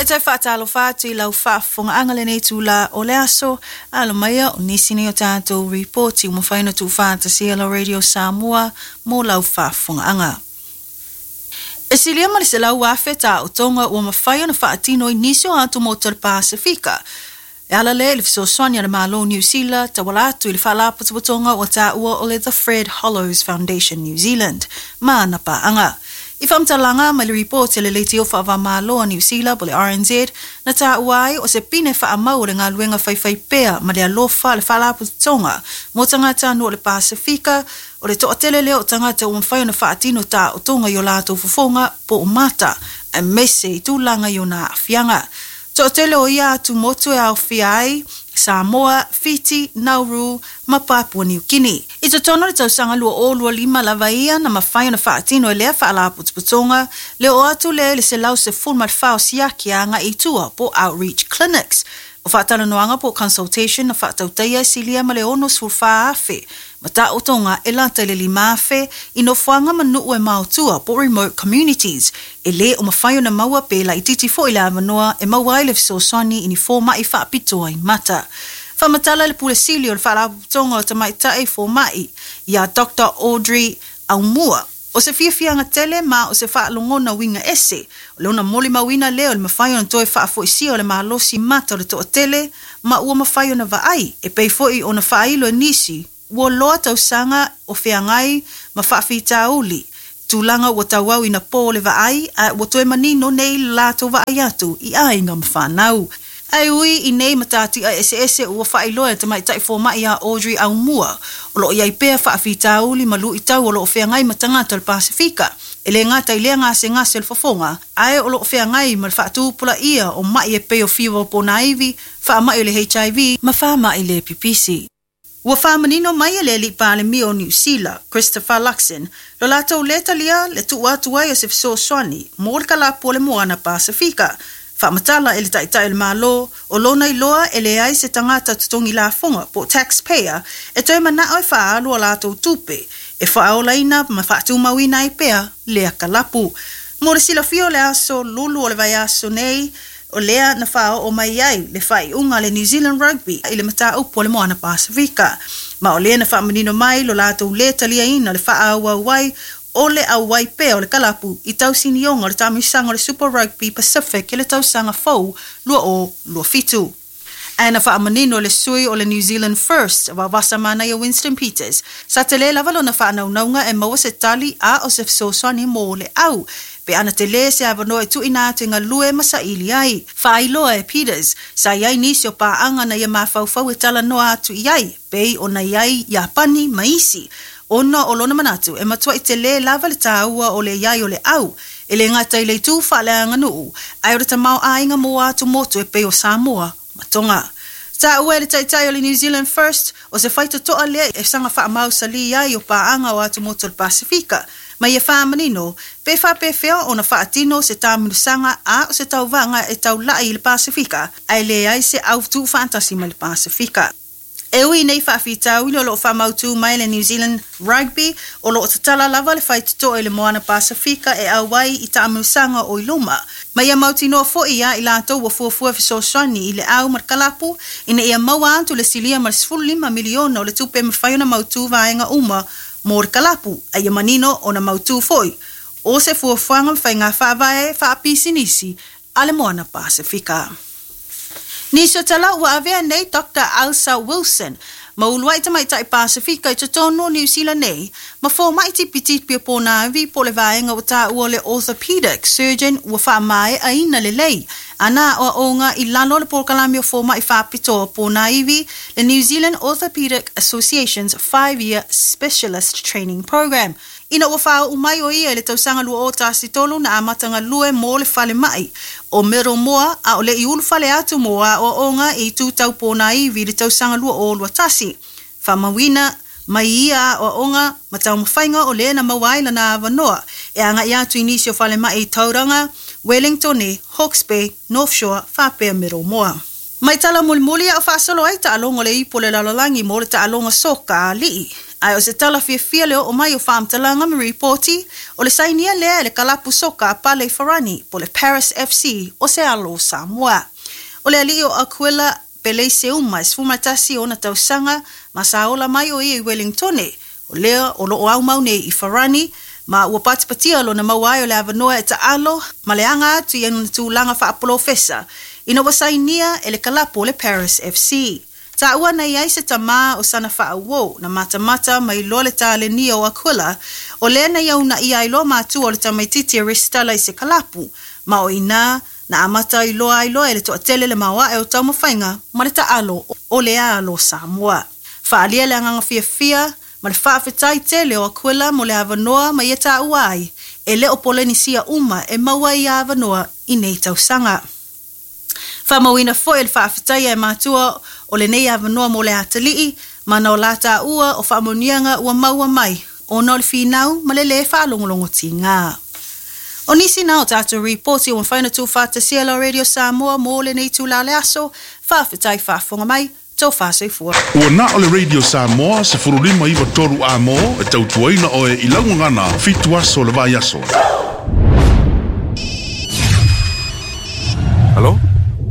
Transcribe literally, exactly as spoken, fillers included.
E toe faatalofa atu i lau faafofogaaga lenei itulā o le aso. Alo maia o nisi nei o tatou ripoti ua mafai ona tuufaatasia lau Radio Samoa mo lau faafofogaaga. E silia ma le selau afe taotoga ua mafai ona faatino i nisi o atumotu o le Pasefika e ala lea i le fesoasoani a le Malo o Niu Sila tauala atu i le Faalapotopotoga ua taua o le The Fred Hollows Foundation New Zealand ma ana paaga. I faamatalaga mai le ripoti a le Leitio Faava-o-Malo a Niu Sila po o le R N Z, na taua ai o se pine faamau o le galuega faifaipea ma le alofa a le Faalapotopotoga mo tagatanuu o le Pasefika o le toatele lea o tagata ua mafai ona faatino taotoga i o latou fofoga po o mata, aemaise i tulaga i ona aafiaga. Toatele o ia atumotu e aofia ai Samoa, Fiti, Nauru ma Papua Niu Kini. I totonu o le tausaga lua o lua lima lava ia na mafai ona faatino e lea faalapotopotoga le oo atu lea i le selau sefulu ma le fa o siaki agai i tua po outreach clinics. O faatalanoaga po consultation na faatautaia e silia ma le ono sefulu fa afe ma taotoga e lata i le lima afe i nofoaga ma nuu e maotua po remote communities e lē o mafai ona maua pe laititi foʻi le avanoa e maua ai le fesoasoani i ni fomaʻi faapitoa i mata. Faamatala le pule sili o le Faalapotopotoga o Tamaitai Fomaʻi iā Doctor Audrey Aumua, o se fiafiaga tele ma o se faalogona uiga ese o le ona molimauina lea o le mafai ona toe faafoisia o le malosi mata o le toatele ma ua mafai ona vaai e pei foi ona faailo e nisi ua loa tausaga o feagai ma faafitauli tulaga ua tauau ina po le vaai a ua toe manino nei le latou vaai atu i aiga ma fanau. Ae ui i nei matatia eseese ua faailoa e tamaitai fomaʻi a Audrey Aumua, o loo iai pea faafitauli ma luitau o loo feagai ma tagata o le Pasefika. E lē gata i lea gasegase o le fofoga, ae o loo feagai ma le faatupulaia o maʻi e pei o fiva o ponaivi, faamaʻi o le H I V ma faamaʻi le pipisi. Ua faamanino mai e le alii palemia o Niu Sila, Christopher Luxon, lo latou lē talia le tuu atu ai o se fesoasoani mo le kalapu o le moana Pasefika. Faamatala e le taitai o le Malo o lona iloa e leai se tagata totogi lafoga po taxpayer e toe manao e faaalu a latou tupe e faaolaina ma faatumauina ai pea lea kalapu. Mo le silafia, o le aso Lulu o le vaiaso nei o lea na faaoo mai ai le faaiuga le New Zealand Rugby i le mataupu o le moana Pasefika, ma o lea na faamanino mai lo latou lē taliaina le faaauau ai o le auai pea o le kalapu i tausinioga o le taamilosaga o le Super Rugby Pacific i le tausaga fou lua o lua fitu. Ae na faamanino le sui o le New Zealand First, Vaovasamanaia Winston Peters, sa telē lava lona faanaunauga e maua se tali a o se fesoasoani mo le au pe ana telē se avanoa e tuuina atu e galue ma saili ai. Faailoa e Peters, sa i ai nisi o paaga na ia mafaufau e talanoa atu i ai, pei ona i ai Iapani ma isi, ona o lona manatu e matuai telē lava le tāua o le iai o le au, e lē gata i le itu faaleaganuu, ae o le tamaoaiga mo atumotu e pei o Samoa ma Tonga. Taua e le taitai o le New Zealand First, o se faitotoa lea e saga faamausalī ai o paaga o atumotu o le Pasefika, ma ia faamanino pe faapefea ona faatino se taamilosaga a o se tauvaga e taulai i le Pasefika ae leai se au tuufaatasi mai le Pasefika. E ui nei faafitauli, o loo faamautū mai le New Zealand Rugby o loo tatala lava le faitotoa i le moana Pasefika e auai i taamilosaga o i luma. Ma ia mautinoa foʻi ia i latou ua fuafua fesoasoani i le au ma le kalapu ina ia maua atu le silia ma le sefulu lima miliona o le tupe e mafai ona mautū vaega uma mo le kalapu, a ia manino ona mautū foʻi o se fuafuaga ma faiga faavae faapisinisi a le moana Pasefika. Nisi o tala ua avea nei Doctor Alsa Wilson ma uluai tamaitai Pasefika i totonu o Niu Sila nei ma fomaʻi tipitipi o ponaivi po le vaega ua taua le orthopedic surgeon ua faamaeaina lelei ana aoaoga i lalo o le polokalame o fomaʻi faapitoa ponaivi, le New Zealand Orthopedic Association's five-year specialist training program. Ina ua faauu mai o ia i le tausaga lua o tasi tolu, na amata galue mo le falemaʻi o Middlemore a o le i ulufale atu mo aoaoga i itu tau ponaivi i le tausaga lua o lua tasi. Faamauina mai ia aoaoga ma taumafaiga o lea na maua ai lana avanoa e agaʻi atu i nisi o falemaʻi i Tauranga, Wellington, Hawke's Bay, North Shore faapea Middlemore. Mai tala mulimuli a o faasolo ai taaloga o le Ipu o le Lalolagi mo le taaloga soka a alii. Ae o se tala fiafia le oo mai o faamatalaga ma ripoti, o le sainia lea e le kalapu soka a pale i Farani po o le Paris F C o se alo o Samoa. O le alii o Akuila Peleise Uma, e sefulumasefulu tasi ona tausaga, ma sa ola mai o ia i Wellingtone, o lea o loo aumau nei i Farani, ma ua patipatia lona maua ai o le avanoa e taalo ma le aga atu i ona tulaga faapolofesa ina ua sainia e le kalapu o le Paris F C. Taua na i ai se tamā o sana faauo na matamata mai loa le talenia o Akuila, o lea na ia unaia ai loa matua o le tamaititi e resitala i se kalapu, ma o inā na amata ai loa ai loa e le toatele le maoae o taumafaiga ma le taalo o le alo Samoa. Faaalia le agaga fiafia ma le faafetai tele o Akuila mo le avanoa ma ia taua ai e le o Polenisia uma e maua ia avanoa i nei tausaga. Faamauina foi le faafetai e matua o lenei avanoa mo le atalii ma na o la taua o faamanuiaga ua maua mai ona o le finau ma le lē faalogologotiga. O nisi na o tatou ripoti ua mafai ona tuufaatasia la Radio Samoa mo lenei itula o le aso. Faafetai faafofoga mai, tofa soifua. Ua na o le Radio Samoa sefuluima iva tolu A M e tautuaina oe i laugagana fitu aso le vai aso. Alo?